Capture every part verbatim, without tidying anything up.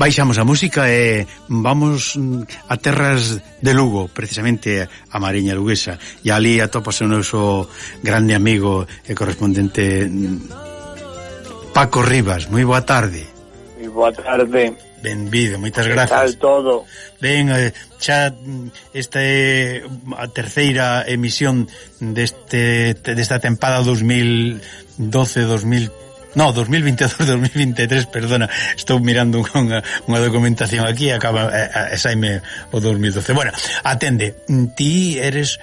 baixamos a música e vamos a terras de Lugo, precisamente a Mariña Luguesa, e ali atopase o noso grande amigo e correspondente Paco Rivas. Moi boa tarde. Moi boa tarde. Benvido, moitas grazas. Que tal todo? Ben, xa esta é a terceira emisión deste desta tempada dos mil doce dos mil no, dos mil veintidós dos mil veintitrés, perdona, estou mirando unha, unha documentación aquí e acaba e saime o dos mil doce. Bueno, atende, ti eres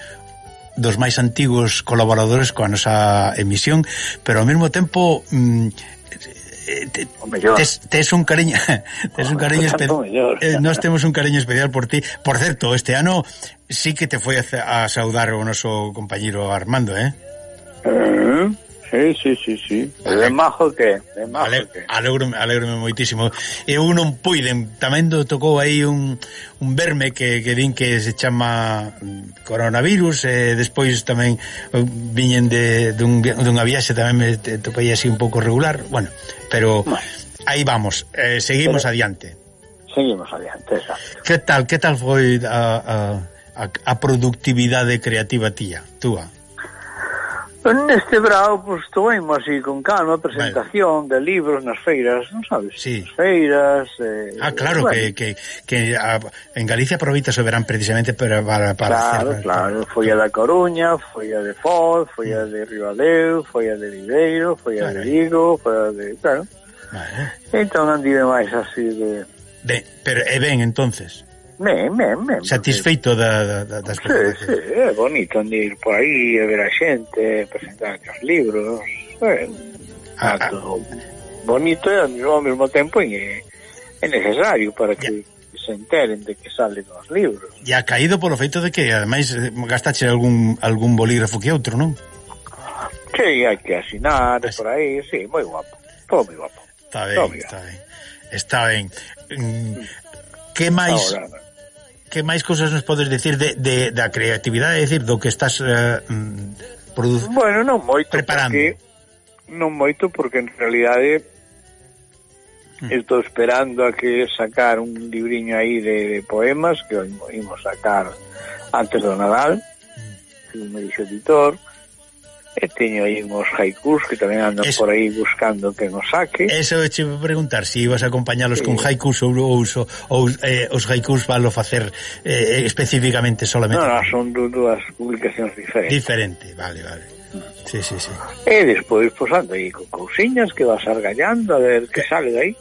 dos máis antigos colaboradores coa nosa emisión, pero ao mesmo tempo mm, tes, tes un cariño tes un cariño especial. eh, nós temos un cariño especial por ti. Por certo, este ano sí que te foi a, a saudar o noso compañeiro Armando, eh? Uh, sí, sí, sí, sí. De majo que, de majo Ale, que. Alegro, alegro moitísimo. Eu non puiden, tamén do tocou aí un, un verme que, que din que se chama coronavirus, e despois tamén viñen de dun, dunha viaxe, tamén me topei así un pouco regular, bueno, pero bueno, aí vamos, eh, seguimos pero, adiante. Seguimos adiante, exacto. Que tal, que tal foi a, a, a productividade creativa tía, túa? Neste brao, pois, toemos así con calma, presentación vale. de libros nas feiras, non sabes? Sí. Nas feiras... Eh, ah, claro, bueno. que, que, que a, en Galicia aproveita o verán precisamente para... para, para claro, hacer, claro, foi a da Coruña, foi a de Foz, foi a de Ribadeo, foi a de Viveiro, foi a vale. de Vigo, foi a de... claro. Vale. Entón andive máis así de... Ben, pero é ben, entonces... Ben, ben, ben. Satisfeito da, da, da, das cousas. Sí, sí, é bonito ir por aí a ver a xente, presentar os libros, é, ah, ah. bonito e ao mesmo tempo é, é necesario para que ya. se enteren de que salen os libros. E ha caído polo feito de que ademais gastache algún algún bolígrafo que outro, non? Sí, hai que asinar As... por aí, sí, moi guapo, todo moi guapo. Está ben, está ben. Está ben. Que máis... Ahora, que máis cousas nos podes decir de, de, da creatividade, é dicir, do que estás uh, producindo? Bueno, non moito, preparando. Porque, non moito, porque en realidade mm. estou esperando a que sacar un libriño aí de, de poemas que imos sacar antes do Nadal, mm. me dixo editor, e teño aí uns haikus que tamén ando eso, por aí buscando que nos saque. Eso che vou preguntar, se si ibas a acompañalos sí. con haikus ou, ou, ou eh, os haikus valo facer eh, especificamente solamente. Non, non, son dúas publicacións diferentes. Diferente, vale, vale. Sí, sí, sí. E despois, pois, ando aí con cousiñas que vas argallando a ver que sale de aí.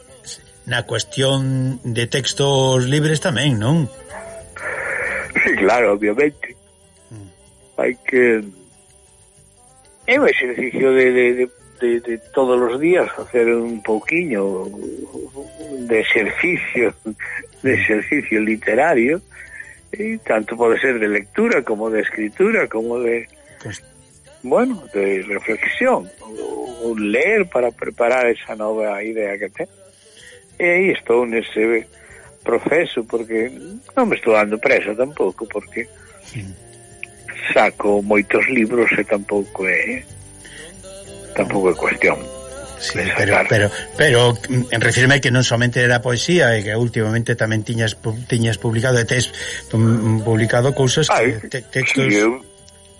Na cuestión de textos libres tamén, non? Sí, claro, obviamente. Mm. Hai que... É un exercicio de, de, de, de, de todos os días hacer un pouquiño de exercicio de exercicio literario, e tanto pode ser de lectura como de escritura como de pues, bueno, de reflexión ou leer para preparar esa nova idea que ten. E aí estou nese proceso, porque non me estou dando presa tampouco, porque sí. saco moitos libros e tampouco é tampouco é cuestión. Sí, pero, pero, pero en refirme que non somente era poesía, e que últimamente tamén tiñas tiñas publicado e tes publicado cousas que te, textos. Sí, eu,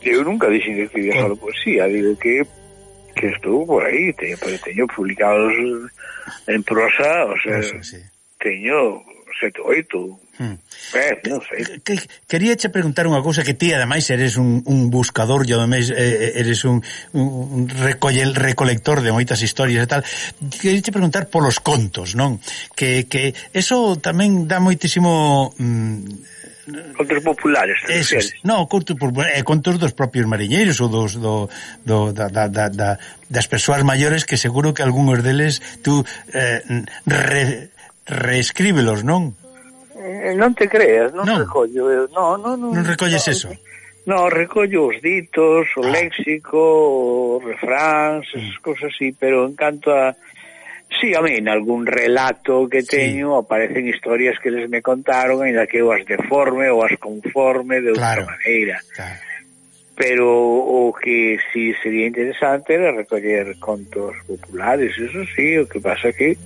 eu nunca dixen que escribía solo poesía, digo que que estou por aí, teño, teño publicados en prosa, o sea, Prosa, sí. teño sete, oito. Hmm. Eh, non sei. Que, quería che preguntar unha cousa, que ti ademais eres un, un buscador, e ademais eh, eres un, un recolle, recolector de moitas historias e tal. Quería che preguntar polos contos, non? Que, que eso tamén dá moitísimo... Mm, contos populares, esos, no, contos populares, eh, contos dos propios mariñeiros ou dos do, do, da, da, da, da, das persoas maiores, que seguro que algúns deles tú eh, re, reescríbelos, non? Eh, non te creas, non, non. recollo, no, no, no, non recolles no, eso? No, recollo os ditos, o ah. léxico, os refráns, esas mm. cosas así, pero en canto a... Sí, a mí, en algún relato que teño, sí. aparecen historias que les me contaron, ainda que eu as deforme ou as conforme de outra claro. maneira. Claro. pero o que sí sería interesante era recoller contos populares, eso sí, o que pasa que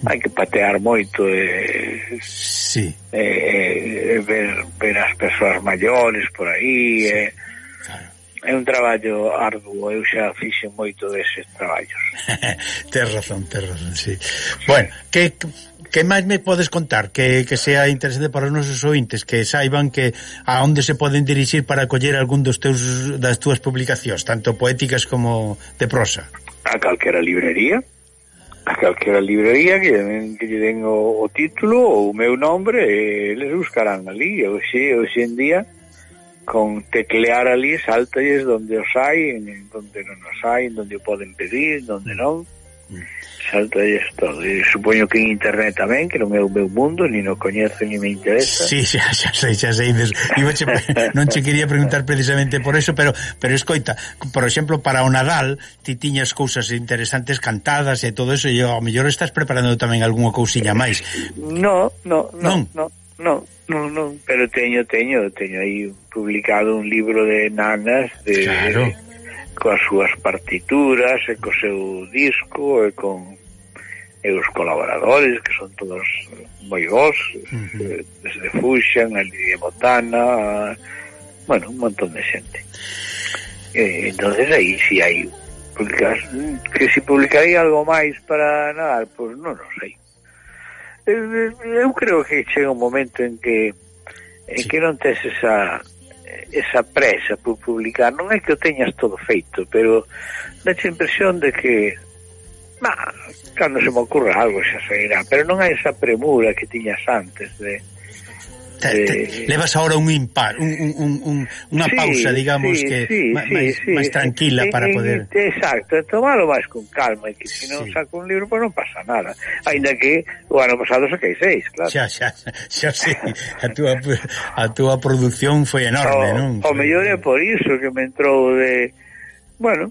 hai que patear moito e sí. eh, ver, ver as persoas maiores por aí, sí. eh, claro. É un traballo arduo, eu xa fixen moito deses traballos. Tes razón, tes razón, sí. Bueno, que que máis me podes contar que, que sea interesante para os nosos ointes, que saiban que a onde se poden dirixir para coller algún dos teus das túas publicacións, tanto poéticas como de prosa? A calquera librería, a calquera librería que, que lle den o, o título ou o meu nombre, e les buscarán ali. Hoxe, hoxe en día, con teclear ali, saltalles donde os hai, en donde non os hai, donde o poden pedir, donde non, saltalles todo. E supoño que en internet tamén, que non é o meu mundo, ni no coñezo, ni me interesa. Sí, xa, xa sei, xa sei. Che, non che quería preguntar precisamente por eso, pero pero escoita, por exemplo, para o Nadal, ti tiñas cousas interesantes cantadas e todo eso, e ao mellor estás preparando tamén algunha cousilla máis. No, no, no, no. No, no, no, pero teño, teño, teño aí publicado un libro de nanas de, claro. de coas súas partituras e co seu disco e con e os colaboradores que son todos moi bons, uh-huh. desde Fuxan, a Lidia Botana, bueno, un montón de xente. E, entonces aí si hai publicas, que si publicaría algo máis para Nadal, pois pues non o sei. Eu creo que chega un momento en que en sí. que non tes esa esa presa por publicar, non é que o teñas todo feito, pero dache a impresión de que bah, cando se me ocurra algo xa sairá, pero non hai esa premura que tiñas antes de Te, te, levas ahora un impar, un, un, un, unha sí, pausa, digamos, sí, que sí, máis sí, sí, tranquila sí, para poder... Exacto, tomalo máis con calma, e que se non sí. saco un libro, pois non pasa nada. Ainda que o ano pasado saquei seis, claro. Xa, xa, xa sei, a túa, a túa produción foi enorme, o, non? O mellor é por iso que me entrou de... Bueno,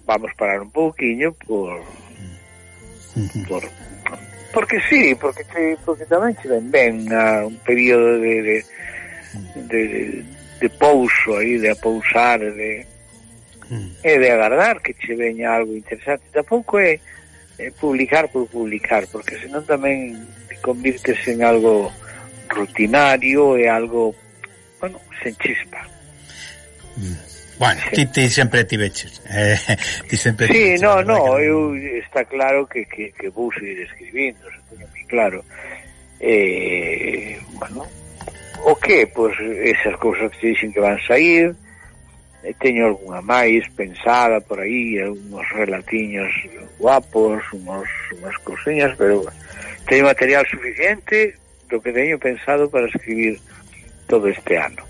vamos parar un pouquiño por... por... Porque sí, porque te, porque tamén che ven ben a un período de de, de, de, de pouso aí, de apousar, de mm. e de agardar que che veña algo interesante. Tampouco é, é publicar por publicar, porque senón tamén te convirtes en algo rutinario e algo, bueno, sen chispa. Mm. Bueno, sí. ti, ti sempre ti veches eh, ti sempre sí, no, no, eu está claro que, que, que vou seguir escribindo, se teño moi claro eh, bueno, o que, pois esas cousas que dixen que van sair, eh, teño algunha máis pensada por aí, algúns relatiños guapos, unos, unas cousiñas, pero teño material suficiente do que teño pensado para escribir todo este ano.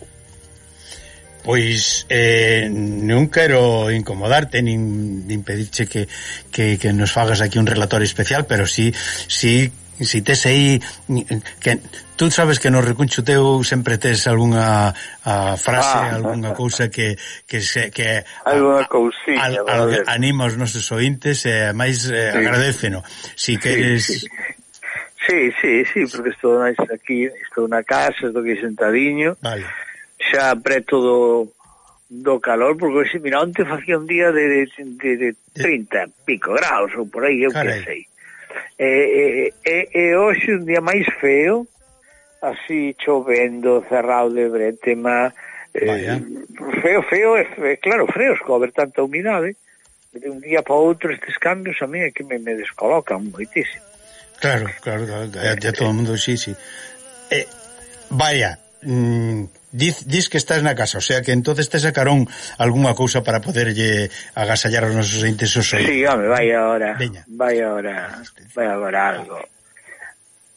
Pois eh, non quero incomodarte nin, nin pedirche que, que, que nos fagas aquí un relatorio especial, pero si, si, si tes aí que, tú sabes que no recuncho teu sempre tes algunha a frase, ah, algunha cousa que, que, se, que algunha cousiña al, al, anima os nosos ointes e máis eh, sí. agradéceno si queres... Sí, sí, sí, sí, porque estou aquí, estou na casa, estou aquí sentadiño, vale, xa preto do, do calor, porque se mira, onte facía un día de, de, de trinta pico graus ou por aí, eu que sei. E, e, e, e hoxe un día máis feo, así chovendo, cerrado de bretema, eh, feo, feo, e, claro, freos, co haber tanta humidade, de un día para outro estes cambios a mí é que me, me descolocan moitísimo. Claro, claro, claro, ya todo o mundo, sí, sí. Eh, vaya, mmm, Diz, diz que estás na casa, o sea que entonces te sacaron algunha cousa para poderlle agasallar aos nosos entes os oídos. Sí, home, vai agora, Veña. vai agora, vai agora algo,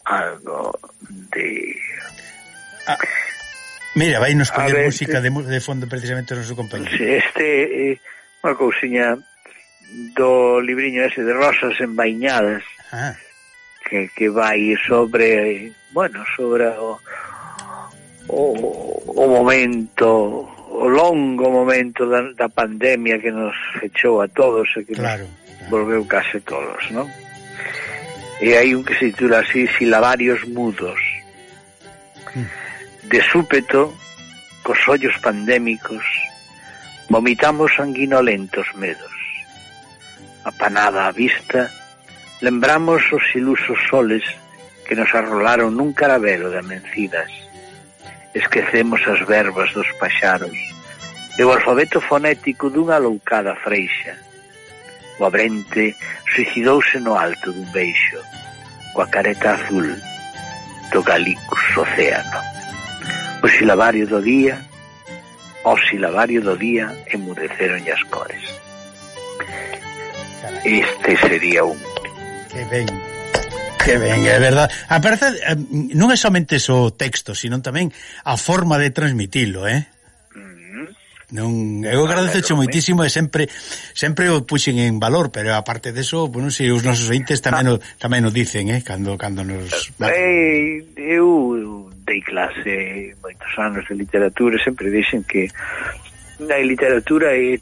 algo de... Ah, mira, vai nos poñer música de, de fondo precisamente o noso compañero. Sí, este, eh, unha cousiña do libriño ese de Rosas Envainadas, ah. que, que vai sobre, bueno, sobre o... O, o momento, o longo momento da, da pandemia que nos fechou a todos e que claro, nos claro. volveu case todos, non? E hai un que se titula así, Silabarios mudos. Mm. De súpeto, cos ollos pandémicos, Vomitamos sanguinolentos medos. Apanada a vista, lembramos os ilusos soles que nos arrolaron nun carabelo de amencidas. Esquecemos as verbas dos paxaros e o alfabeto fonético dunha loucada freixa. O abrente suicidouse no alto dun beixo, coa careta azul do Galicus océano. O silabario do día, o silabario do día emudeceron as cores. Este sería un... Que ben, que ben, é verdade. A verdade, non é somente o texto, sino tamén a forma de transmitilo, eh? Non, eu agradezo moitísimo e sempre sempre o puxen en valor, pero aparte deso, bueno, si os nosos ointes tamén o, tamén o dicen, eh, cando cando nos eh, eu dei clase moitos anos de literatura, sempre dixen que a literatura é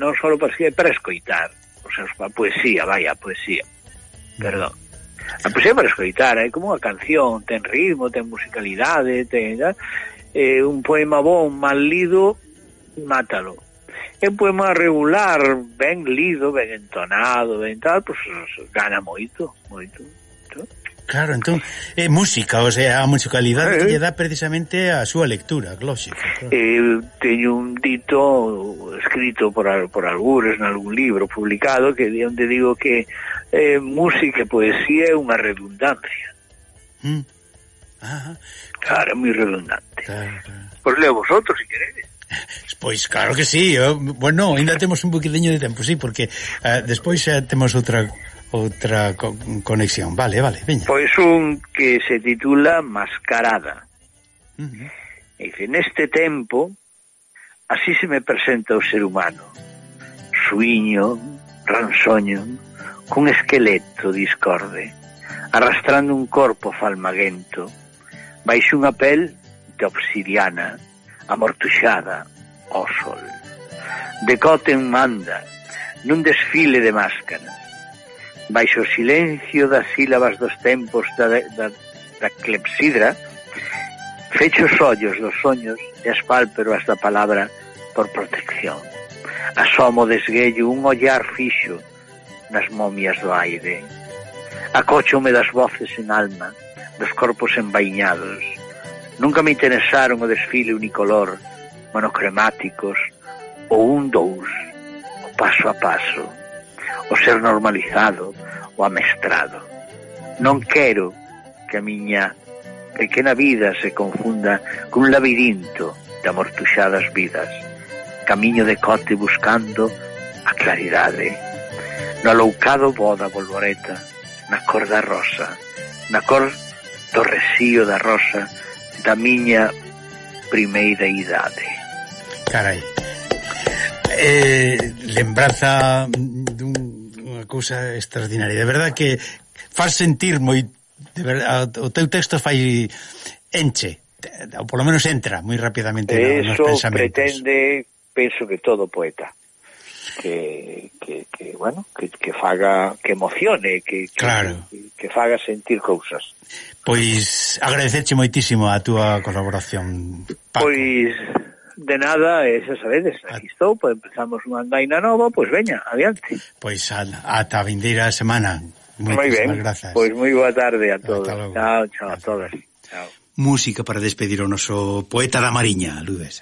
non só para escribir, é para escoitar, o sea, a poesía, vai, a poesía. Perdón. A poesía para escoitar, é como unha canción, ten ritmo, ten musicalidade, ten eh, un poema bon, mal lido, mátalo. É un poema regular, ben lido, ben entonado, ben tal, pues gana moito, moito. moito. Claro, entón, é música, o sea, a musicalidade eh, que lle dá precisamente a súa lectura, lógico. Claro. Eh, teño un dito escrito por, por algures en algún libro publicado que onde digo que eh, música e poesía é unha redundancia. Mm. Ajá. Claro, é moi redundante. Claro, claro. Pois leo vosotros, se queredes. Pois claro que sí, eu, bueno, ainda temos un poquinho de tempo, sí, porque uh, despois uh, temos outra outra co conexión, vale, vale, veña. Pois un que se titula Mascarada. Uh-huh. E dice, neste tempo, así se me presenta o ser humano, suiño, ransoño, cun esqueleto discorde, arrastrando un corpo falmaguento, baixo unha pel de obsidiana, amortuxada ao sol. Decote en manda, nun desfile de máscaras, baixo o silencio das sílabas dos tempos da, da, da clepsidra, fecho os ollos dos soños e as pálpebras da palabra por protección. Asomo desguello un ollar fixo nas momias do aire. Acóchome das voces en alma, dos corpos envainados. Nunca me interesaron o desfile unicolor, monocromáticos, o un dous, o paso a paso, o ser normalizado, o amestrado. Non quero que a miña pequena vida se confunda cun labirinto de amortuxadas vidas. Camiño de cote buscando a claridade. No aloucado voo da bolboreta, na cor da rosa, na cor do resío da rosa, da miña primeira idade. Carai, eh, lembranza dunha cousa extraordinaria, de verdad que faz sentir moi, de verdad, o teu texto fai enche, ou polo menos entra moi rapidamente nos pensamentos. Eso pretende, penso que todo poeta que, que, que bueno, que, que faga, que emocione, que, que, claro. que, que faga sentir cousas. Pois agradecerche moitísimo a túa colaboración, Paco. Pois de nada, e xa sabedes, aquí estou, pois empezamos unha andaina nova, pois veña, adiante. Pois ata a vindeira semana. Moi ben, grazas. Pois moi boa tarde a todos. Chao, chao a todas. Chao. Música para despedir o noso poeta da Mariña, Ludes.